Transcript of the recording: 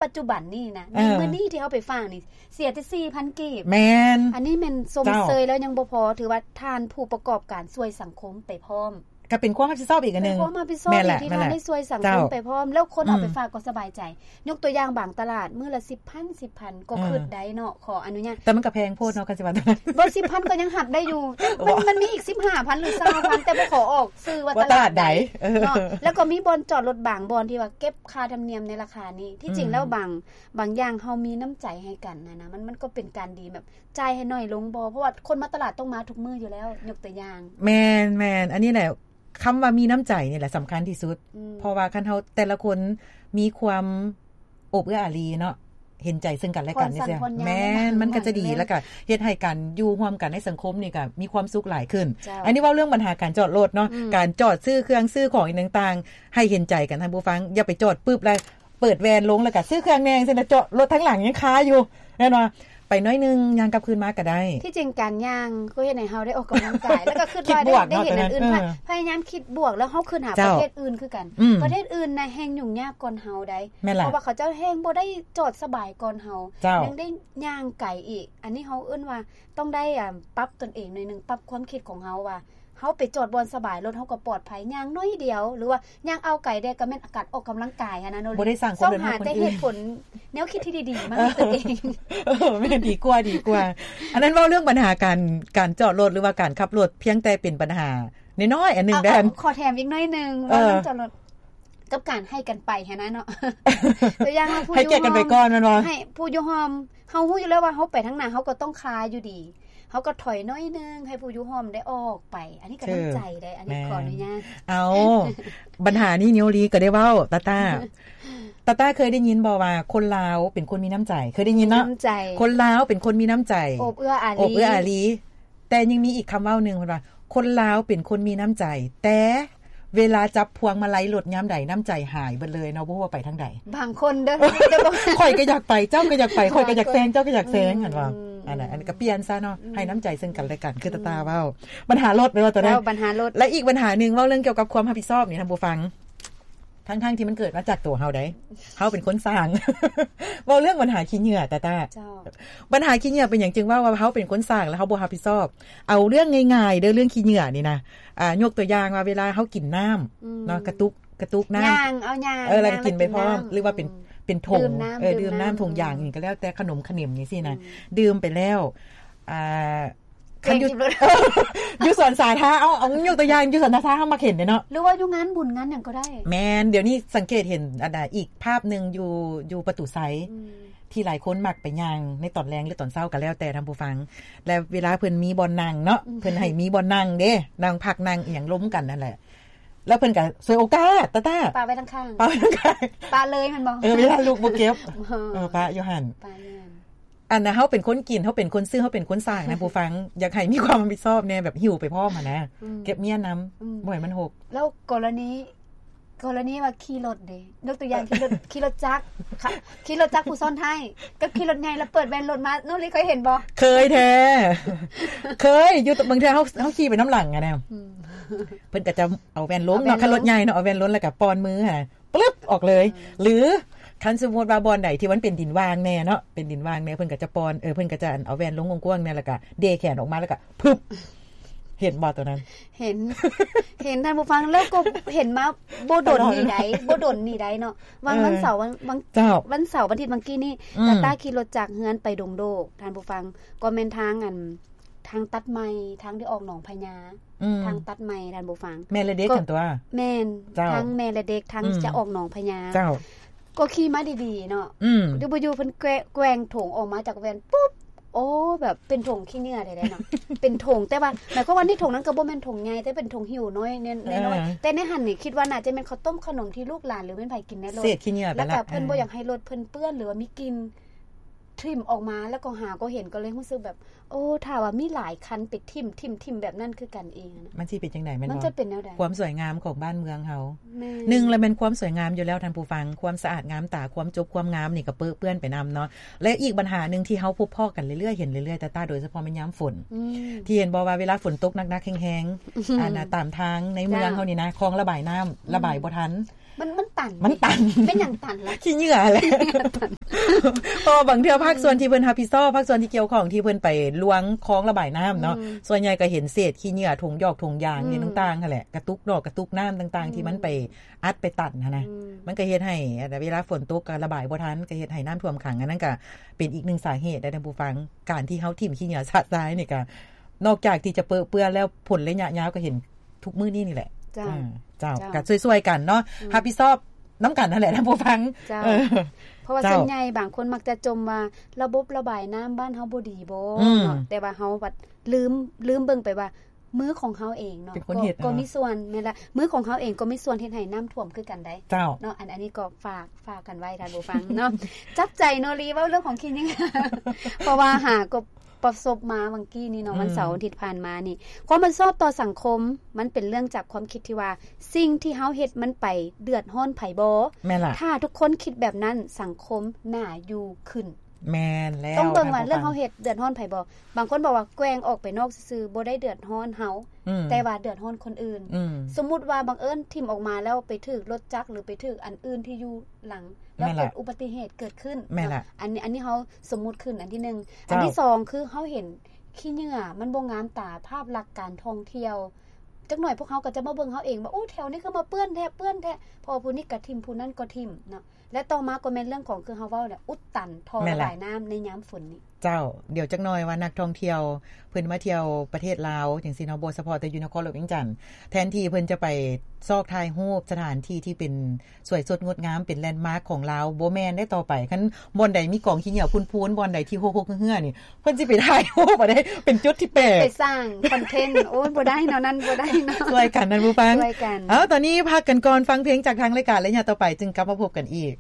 ປັດຈຸບັນນີ້ນະ ໃນ ເອີ ມື້ນີ້ທີ່ເຮົາໄປຝາກນີ້ ເສຍແຕ່ສີ່ພັນກີບ. ແມ່ນ. ອັນນີ້ແມ່ນຊົມເຊີຍແລ້ວຍັງບໍ່ພໍ ຖືວ່າທ່ານຜູ້ປະກອບການຊ່ວຍສັງຄົມໄປພ້ອມ ກໍເປັນຄວາມຮັບຜິດຊອບອີກອັນໜຶ່ງ. ເປັນຄວາມຮັບຜິດຊອບ ແມ່ນແຫຼະ ທີ່ທ່ານໄດ້ຊ່ວຍສັງຄົມໄປພ້ອມ ແມ່ນແຫຼະ ເຈົ້າ ແລ້ວຄົນເອົາໄປ ອືມ ຝາກກໍສະບາຍໃຈ. ຍົກຕົວຢ່າງບາງຕະຫຼາດ ມື້ລະສິບພັນ ສິບພັນ ກໍ ເອີ ຄິດໄດ້ເນາະ ຂໍອະນຸຍາດ. ແຕ່ມັນກໍແພງໂພດເນາະ ຄັນຊິວ່າ ບໍ່ ສິບພັນ ກໍຍັງຮັບໄດ້ຢູ່ ມັນ ມັນມີອີກສິບຫ້າພັນ ຫຼື ຊາວພັນ ແຕ່ບໍ່ຂໍອອກຊື່ວ່າຕະຫຼາດໃດ ວ່າຕະຫຼາດໃດ ເອີ ເນາະ. ແລ້ວກໍມີບ່ອນຈອດລົດບາງບ່ອນທີ່ວ່າເກັບຄ່າທຳນຽມໃນລາຄານີ້ ທີ່ຈິງແລ້ວ ອືມ ບາງ ບາງຢ່າງເຮົາມີນ້ຳໃຈໃຫ້ກັນນະ ນະ ມັນ ມັນກໍເປັນການດີ ແບບຈ່າຍໃຫ້ໜ້ອຍລົງບໍ່ ເພາະວ່າຄົນມາຕະຫຼາດຕ້ອງມາທຸກມື້ຢູ່ແລ້ວ ຍົກຕົວຢ່າງ. ແມ່ນໆ ອັນນີ້ແຫຼະ ຄຳວ່າມີນ້ຳໃຈນີ້ແຫຼະສຳຄັນທີ່ສຸດ ອືມ ເພາະວ່າຄັນເຮົາແຕ່ລະຄົນມີຄວາມໂອບເອື້ອອາລີເນາະ ເຫັນໃຈເຊິ່ງກັນແລະກັນ ຜ່ອນສັນຜ່ອນຍາມ ແມ່ນ ມັນກໍຈະດີ ແລ້ວກໍເຮັດໃຫ້ການຢູ່ຮ່ວມກັນໃນສັງຄົມນີ້ກໍມີຄວາມສຸກຫຼາຍຂຶ້ນ. ເຈົ້າ ອັນນີ້ເວົ້າເລື່ອງບັນຫາການຈອດລົດເນາະ ອືມ ການຈອດຊື້ເຄື່ອງຊື້ຂອງອີ່ຫຍັງຕ່າງໆ ໃຫ້ເຫັນໃຈກັນທ່ານຜູ້ຟັງ ຢ່າໄປຈອດປຶບແລ້ວ ເປີດແວ່ນລົງ ແລ້ວກໍຊື້ເຄື່ອງແດ່ ຈັ່ງຊີ້ນະ ເຈາະລົດທາງຫຼັງຍັງຄາຢູ່ ແມ່ນບໍ່? ໄປໜ້ອຍໜຶ່ງ ຍ່າງກັບຄືນມາກໍໄດ້. ທີ່ຈິງການຍ່າງກໍເຮັດໃຫ້ເຮົາໄດ້ອອກກຳລັງກາຍ ແລ້ວກໍຄິດວ່າໄດ້ ໄດ້ເຫັນອັນອື່ນ ເອີ ພະຍາຍາມຄິດບວກ ແລ້ວເຮົາຄິດຫາ ເຈົ້າ ປະເທດອື່ນຄືກັນ ອືມ ປະເທດອື່ນນະແຮ່ງຫຍຸ້ງຍາກກ່ອນເຮົາໃດ໋ ແມ່ນລະ ເພາະວ່າເຂົາເຈົ້າແຮ່ງບໍ່ໄດ້ຈອດສະບາຍກ່ອນເຮົາ ເຈົ້າ ຍັງໄດ້ຍ່າງໄກອີກ. ອັນນີ້ເຮົາເອີ້ນວ່າຕ້ອງໄດ້ ອາ ປັບຕົນເອງໜ້ອຍໜຶ່ງ ປັບຄວາມຄິດຂອງເຮົາວ່າ ເຮົາໄປຈອດບ່ອນສະບາຍ ລົດເຮົາກໍປອດໄພ ຍ່າງໜ້ອຍດຽວ ຫຼືວ່າຍ່າງອ່າວໄກແດ່ ກໍແມ່ນການອອກກຳລັງກາຍຫັ້ນນະເນາະ. ບໍ່ໄດ້ສ້າງຄວາມເດືອດຮ້ອນໃຫ້ຄົນອື່ນ ຊອກຫາແຕ່ເຫດຜົນ ແນວຄິດທີ່ດີໆ ມາໃຫ້ຕົນເອງ. ເອີ ແມ່ນ ດີກວ່າ ດີກວ່າ. ອັນນັ້ນເວົ້າເລື່ອງບັນຫາການ ການຈອດລົດ ຫຼືວ່າການຂັບລົດ ພຽງແຕ່ເປັນບັນຫານ້ອຍໆ ອັນໜຶ່ງເດີ້. ຂໍແຖມອີກໜ້ອຍໜຶ່ງ ເອີ ເວົ້າເລື່ອງຈອດລົດ ກັບການໃຫ້ກັນໄປຫັ້ນນະເນາະ. ຕົວຢ່າງວ່າຜູ້ ໃຫ້ກຽດກັນໄປກ່ອນແມ່ນບໍ່? ໃຫ້ຜູ້ຢູ່ຮ່ອມ ເຮົາຮູ້ຢູ່ແລ້ວວ່າເຮົາໄປທາງໜ້າ ເຮົາກໍຕ້ອງຄາຢູ່ດີ ເຮົາກໍຖອຍໜ້ອຍໜຶ່ງ ໃຫ້ຜູ້ຢູ່ຮ່ອມໄດ້ອອກໄປ. ອັນນີ້ກໍນ້ຳໃຈເດ້ ອັນນີ້ ແມ່ນ ຂໍອະນຸຍາດ. ເອົາ ບັນຫານີ້ນິວລີກໍໄດ້ເວົ້າ ຕາຕາ ຕາຕາເຄີຍໄດ້ຍິນບໍ່ວ່າຄົນລາວເປັນຄົນມີນ້ຳໃຈ? ເຄີຍໄດ້ຍິນເນາະ ມີນ້ຳໃຈ ຄົນລາວເປັນຄົນມີນ້ຳໃຈ ໂອບເອື້ອອາລີ ໂອບເອື້ອອາລີ. ແຕ່ຍັງມີອີກຄຳເວົ້າໜຶ່ງ ເພິ່ນວ່າ ຄົນລາວເປັນຄົນມີນ້ຳໃຈ ແຕ່ເວລາຈັບພວງມາໄລລົດຍາມໃດ ນ້ຳໃຈຫາຍເບິດເລີຍເນາະ ບໍ່ຮູ້ວ່າໄປທາງໃດ. ບາງຄົນເດີ້ ຂ້ອຍກໍຢາກໄປ ເຈົ້າກໍຢາກໄປ ຂ້ອຍກໍຢາກແຊງ ເຈົ້າກໍຢາກແຊງ ອືມ ຫັ້ນວ່າ ອືມ ອັນນັ້ນ ອັນນີ້ກໍປ່ຽນຊະເນາະ ອືມ ໃຫ້ນ້ຳໃຈເຊິ່ງກັນແລະກັນ ຄືຕາຕາເວົ້າ. ອືມ ບັນຫາລົດແມ່ນບໍ່ ຕົວນັ້ນ ເວົ້າບັນຫາລົດ ແລະ ອີກບັນຫາໜຶ່ງ ເວົ້າເລື່ອງກ່ຽວກັບຄວາມຮັບຜິດຊອບນີ້ ທ່ານຜູ້ຟັງ ທັງໆທີ່ມັນເກີດມາຈາກຕົວເຮົາໃດ໋ ເຮົາເປັນຄົນສ້າງ ເວົ້າເລື່ອງບັນຫາຂີ້ເຫຍື້ອ ຕາຕາ ເຈົ້າ ບັນຫາຂີ້ເຫຍື້ອເປັນຫຍັງຈຶ່ງເວົ້າວ່າເຮົາເປັນຄົນສ້າງ ແລ້ວເຮົາບໍ່ຮັບຜິດຊອບ? ເອົາເລື່ອງງ່າຍໆເດີ້ ເລື່ອງຂີ້ເຫຍື້ອນີ້ນະ ອາ ຍົກຕົວຢ່າງວ່າເວລາເຮົາກິນນ້ຳ ອືມ ເນາະ ກະຕຸກ ກະຕຸກນ້ຳ ຍ່າງ ເອົາຍ່າງ ເອີ ແລ້ວກໍກິນໄປພ້ອມ ຫຼືວ່າເປັນ ອືມ ເປັນຖົງ ເອີ ດື່ມນ້ຳຖົງຢາງ ອີ່ຫຍັງກໍແລ້ວແຕ່ ຂະໜົມຂະໜິມຈັ່ງຊີ້ນະ ອືມ ດື່ມໄປແລ້ວ ອ່າ ຄັນຢູ່ ຢູ່ສວນສາທາ ເອົາ ເອົາຍົກຕົວຢ່າງ ຢູ່ສວນສາທາ ເຮົາມັກເຫັນເດ້ເນາະ ຫຼືວ່າຢູ່ງານບຸນງານຫຍັງກໍໄດ້. ແມ່ນ ດຽວນີ້ສັງເກດເຫັນ ອັນນ່າ ອີກພາບໜຶ່ງຢູ່ ຢູ່ປະຕູໄຊ ອືມ ທີ່ຫຼາຍຄົນມັກໄປຍ່າງໃນຕອນແລງ ຫຼື ຕອນເຊົ້າກໍແລ້ວແຕ່ທ່ານຜູ້ຟັງ ແລະ ເວລາເພິ່ນມີບ່ອນນັ່ງເນາະ ອືມ ເພິ່ນໃຫ້ມີບ່ອນນັ່ງເດ້ ນັ່ງພັກນັ່ງອີ່ຫຍັງລົມກັນນັ້ນແຫຼະ ແລ້ວເພິ່ນກໍສວຍໂອກາດ ຕາຕາ ປະໄວ້ທາງຂ້າງ ປະໄວ້ທາງຂ້າງ ປະເລີຍແມ່ນບໍ່? ເອີ ເວລາລູກບໍ່ເກັບ ເອີ ປະຢູ່ຫັ້ນ ປະຢູ່ຫັ້ນ. ອັນນ່າ ເຮົາເປັນຄົນກິນ ເຮົາເປັນຄົນຊື້ ເຮົາເປັນຄົນສ້າງນະ ຜູ້ຟັງ ຢາກໃຫ້ມີຄວາມຮັບຜິດຊອບແດ່ ແບບຫິ້ວໄປພ້ອມຫັ້ນນະ ອືມ ເກັບເມຍນຳ ອືມ ບໍ່ໃຫ້ມັນຫົກ. ແລ້ວກໍລະນີ ກໍລະນີວ່າຂີ່ລົດເດ້ ຍົກຕົວຢ່າງ ຂີ່ລົດ ຂີ່ລົດຈັກ ຂີ່ລົດຈັກຜູ້ຊ້ອນທ້າຍ ກັບຂີ່ລົດໃຫຍ່ແລ້ວເປີດແວ່ນລົດມາ ນ້ອງລີເຄີຍເຫັນບໍ່? ເຄີຍແທ້ ເຄີຍ ຢູ່ບາງເທື່ອເຮົາ ເຮົາຂີ່ໄປນຳຫຼັງຫັ້ນນະ ອືມ ເພິ່ນກໍຈະເອົາແວ່ນລົງເນາະ ເອົາແວ່ນລົງ ຄັນລົດໃຫຍ່ເນາະ ເອົາແວ່ນລົງແລ້ວກໍປ່ອນມືຫັ້ນ ປຶບ ອອກເລີຍ ອືມ ຫຼື ຄັນສົມມຸດວ່າບ່ອນໃດທີ່ມັນເປັນດິນຫວ່າງແດ່ເນາະ ເປັນດິນຫວ່າງແດ່ ເພິ່ນກໍຈະປ່ອນ ເອີ ເພິ່ນກໍຈະ ອັນ ເອົາແວ່ນລົງກວ້າງໆແດ່ ແລ້ວກໍເດແຂນອອກມາ ແລ້ວກໍ ພຶບ ເຫັນບໍ່ຕົວນັ້ນ? ເຫັນ ເຫັນທ່ານຜູ້ຟັງ ແລ້ວກໍເຫັນມາບໍ່ດົນນີ້ໃດ໋ ບໍ່ດົນນີ້ໃດ໋ເນາະ ຫວ່າງ ເອີ ວັນເສົາ ວັນ ວັນ ເຈົ້າ ວັນເສົາວັນອາທິດຫວ່າງກີ້ນີ້ ອືມ ຕາຕາຂີ່ລົດຈາກເຮືອນໄປດົງໂດກ ທ່ານຜູ້ຟັງ ກໍແມ່ນທາງ ອັນ ທາງຕັດໃໝ່ ທາງທີ່ອອກໜອງພະຍາ ອືມ ທາງຕັດໃໝ່ ທ່ານຜູ້ຟັງ ແມ່ນແລະເດັກຫັ້ນຕົວະ ແມ່ນ ເຈົ້າ ທາງແມ່ແລະເດັກ ທາງ ອືມ ຈະອອກໜອງພະຍາ ເຈົ້າ ກໍຂີ່ມາດີໆເນາະ ອືມ ຢູ່ບໍ່ຢູ່ເພິ່ນແກວ່ງ ແກວ່ງຖົງອອກມາຈາກແວ່ນປຸບ ໂອ້ ແບບເປັນຖົງຂີ້ເຫຍື້ອແທ້ໆເນາະ ເປັນຖົງ ແຕ່ວ່າໝາຍຄວາມວ່າໃນຖົງນັ້ນກໍບໍ່ແມ່ນຖົງໃຫຍ່ ແຕ່ເປັນຖົງຫິ້ວນ້ອຍ ນ້ອຍ ເອີ ນ້ອຍ ແຕ່ໃນຫັ້ນນີ້ຄິດວ່າໜ້າຈະແມ່ນເຂົ້າຕົ້ມຂະໜົມທີ່ລູກຫຼານ ຫຼືແມ່ນໃຜກິນໃນລົດ ເສດຂີ້ເຫຍື້ອໄປລະ ແລ້ວກໍເພິ່ນ ເອີ ບໍ່ຢາກໃຫ້ລົດເພິ່ນເປື້ອນ ຫຼືວ່າມີກິ່ນ ຖິ້ມອອກມາ ແລ້ວກໍຫາກໍເຫັນ ກໍເລີຍຮູ້ສຶກແບບ ໂອ້ ຖ້າວ່າມີຫຼາຍຄັນໄປຖິ້ມ ຖິ້ມ ຖິ້ມແບບນັ້ນຄືກັນອີກນະ ມັນຊິເປັນຈັ່ງໃດແມ່ນບໍ່? ມັນຈະເປັນແນວໃດ? ຄວາມສວຍງາມຂອງບ້ານເມືອງເຮົາ ແມ່ນ ໜຶ່ງລະແມ່ນຄວາມສວຍງາມຢູ່ແລ້ວທ່ານຜູ້ຟັງ ຄວາມສະອາດງາມຕາ ຄວາມຈົບຄວາມງາມນີ້ກໍເປິເປື້ອນໄປນຳເນາະ ແລະ ອີກບັນຫາໜຶ່ງທີ່ເຮົາພົບພໍ້ກັນເລື້ອຍໆ ເຫັນເລື້ອຍໆ ຕາຕາ ໂດຍສະເພາະແມ່ນຍາມຝົນ ອືມ ທີ່ເຫັນບໍ່ວ່າເວລາຝົນຕົກໜັກໆແຮງໆ ອືມ ອັນນ່າ ຕາມທາງໃນເມືອງເຮົານີ້ນະ ເຈົ້າ ຄອງລະບາຍນ້ຳ ອືມ ລະບາຍບໍ່ທັນ ມັນ ມັນຕັນ ມັນຕັນ ແມ່ນຫຍັງຕັນລະ? ຂີ້ເຫຍື້ອແຫຼະ ເພາະວ່າບາງເທື່ອພາກສ່ວນທີ່ເພິ່ນຮັບຜິດຊອບ ພາກສ່ວນທີ່ກ່ຽວຂ້ອງທີ່ເພິ່ນໄປລວງຄອງລະບາຍນ້ຳເນາະ ສ່ວນໃຫຍ່ກໍເຫັນເສດຂີ້ເຫຍື້ອ ຖົງຢອກຖົງຢາງ ອີ່ຫຍັງຕ່າງໆຫັ້ນແຫຼະ ກະຕຸກນອກກະຕຸກນ້ຳຕ່າງໆ ທີ່ມັນໄປອັດໄປຕັນຫັ້ນນະ ມັນກໍເຮັດໃຫ້ເວລາຝົນຕົກກໍລະບາຍບໍ່ທັນ ກໍເຮັດໃຫ້ນ້ຳຖ້ວມຂັງ ອັນນັ້ນກໍເປັນອີກໜຶ່ງສາເຫດເດ້ທ່ານຜູ້ຟັງ ການທີ່ເຮົາຖິ້ມຂີ້ເຫຍື້ອຊະຊາຍນີ້ກໍ ນອກຈາກທີ່ຈະເປິເປື້ອນແລ້ວ ຜົນໄລຍະຍາວກໍເຫັນທຸກມື້ນີ້ນີ້ແຫຼະ. ເຈົ້າ ເຈົ້າ ເຈົ້າ ກໍຊ່ວຍໆກັນເນາະ ຮັບຜິດຊອບນຳກັນຫັ້ນແຫຼະທ່ານຜູ້ຟັງ. ເຈົ້າ ເອີ ເພາະວ່າສ່ວນໃຫຍ່ບາງຄົນມັກຈະຈົ່ມວ່າລະບົບລະບາຍນ້ຳບ້ານເຮົາບໍ່ດີບໍ່ເນາະ ແຕ່ວ່າເຮົາບັດລືມ ລືມເບິ່ງໄປວ່າມືຂອງເຮົາເອງເນາະ ເປັນຄົນເຮັດ ກໍມີສ່ວນ ແມ່ນລະ ມືຂອງເຮົາເອງກໍມີສ່ວນເຮັດໃຫ້ນ້ຳຖ້ວມຄືກັນໄດ໋ ເຈົ້າ ເນາະ. ອັນ ອັນນີ້ກໍຝາກ ຝາກກັນໄວ້ທ່ານຜູ້ຟັງເນາະ ຈັບໃຈເນາະ ລີເວົ້າເລື່ອງຂອງຂີ້ເຫຍື້ອ ເພາະວ່າຫາກໍ ປະສົບມາຫວ່າງກີ້ນີ້ເນາະ ວັນເສົາອາທິດຜ່ານມານີ້ ຄວາມຮັບຜິດຊອບຕໍ່ສັງຄົມ ມັນເປັນເລື່ອງຈາກຄວາມຄິດທີ່ວ່າ ສິ່ງທີ່ເຮົາເຮັດມັນໄປເດືອດຮ້ອນໃຜບໍ່? ແມ່ນລະ ຖ້າທຸກຄົນຄິດແບບນັ້ນ ສັງຄົມໜ້າຢູ່ຂຶ້ນ. ແມ່ນແລ້ວ ຕ້ອງເບິ່ງວ່າເລື່ອງເຮົາເຮັດເດືອດຮ້ອນໃຜບໍ່? ບາງຄົນບອກວ່າແກວ່ງອອກໄປນອກຊື່ໆ ບໍ່ໄດ້ເດືອດຮ້ອນເຮົາ ແຕ່ວ່າເດືອດຮ້ອນຄົນອື່ນ. ສົມມຸດວ່າບັງເອີນຖິ້ມອອກມາແລ້ວໄປຖືກລົດຈັກ ຫຼື ໄປຖືກອັນອື່ນທີ່ຢູ່ຫຼັງ ແລ້ວເກີດອຸບັດຕິເຫດເກີດຂຶ້ນ. ແມ່ນລະ ອັນ ອັນນີ້ເຮົາ ສົມມຸດຂຶ້ນອັນທີໜຶ່ງ. ເຈົ້າ ອັນທີສອງ ຄືເຮົາເຫັນຂີ້ເຫຍື້ອມັນບໍ່ງາມຕາ ພາບລັກການທ່ອງທ່ຽວ ຈັກໜ່ອຍພວກເຮົາກໍຈະມາເບິ່ງເຮົາເອງວ່າ ໂອ້ ແຖວນີ້ຄືມາເປື້ອນແທ້ ເປື້ອນແທ້ ເພາະວ່າຜູ້ນີ້ກໍຖິ້ມ ຜູ້ນັ້ນກໍຖິ້ມເນາະ. ແລະ ຕໍ່ມາກໍແມ່ນເລື່ອງຂອງ ຄືເຮົາເວົ້າແຫຼະ ອຸດຕັນທໍ່ລະບາຍນ້ຳໃນຍາມຝົນນີ້. ເຈົ້າ ດຽວຈັກໜ່ອຍວ່ານັກທ່ອງທ່ຽວເພິ່ນມາທ່ຽວປະເທດລາວຈັ່ງຊີ້ເນາະ ບໍ່ສະເພາະແຕ່ຢູ່ນະຄອນຫຼວງວຽງຈັນ ແທນທີ່ເພິ່ນຈະໄປຊອກຖ່າຍຮູບສະຖານທີ່ທີ່ເປັນ ສວຍສົດງົດງາມ ເປັນແລນມາກຂອງລາວ ບໍ່ແມ່ນໄດ໋ຕໍ່ໄປ. ຄັນບ່ອນໃດມີກອງຂີ້ເຫຍື້ອພຸ້ນໆ ບ່ອນໃດທີ່ຮົກໆເຫື່ອໆນີ້ ເພິ່ນຊິໄປຖ່າຍຮູບເອົາໄດ໋ ເປັນຈຸດທີ່ແປກ ໄປສ້າງຄອນເທັນ. ໂອ້ຍ ບໍ່ໄດ້ເນາະ ນັ້ນບໍ່ໄດ້ເນາະ. ຊ່ວຍກັນທ່ານຜູ້ຟັງ ຊ່ວຍກັນ. ເອົາ ຕອນນີ້ພັກກັນກ່ອນ ຟັງເພງຈາກທາງລາຍການ ໄລຍະຕໍ່ໄປຈຶ່ງກັບມາພົບກັນອີກ.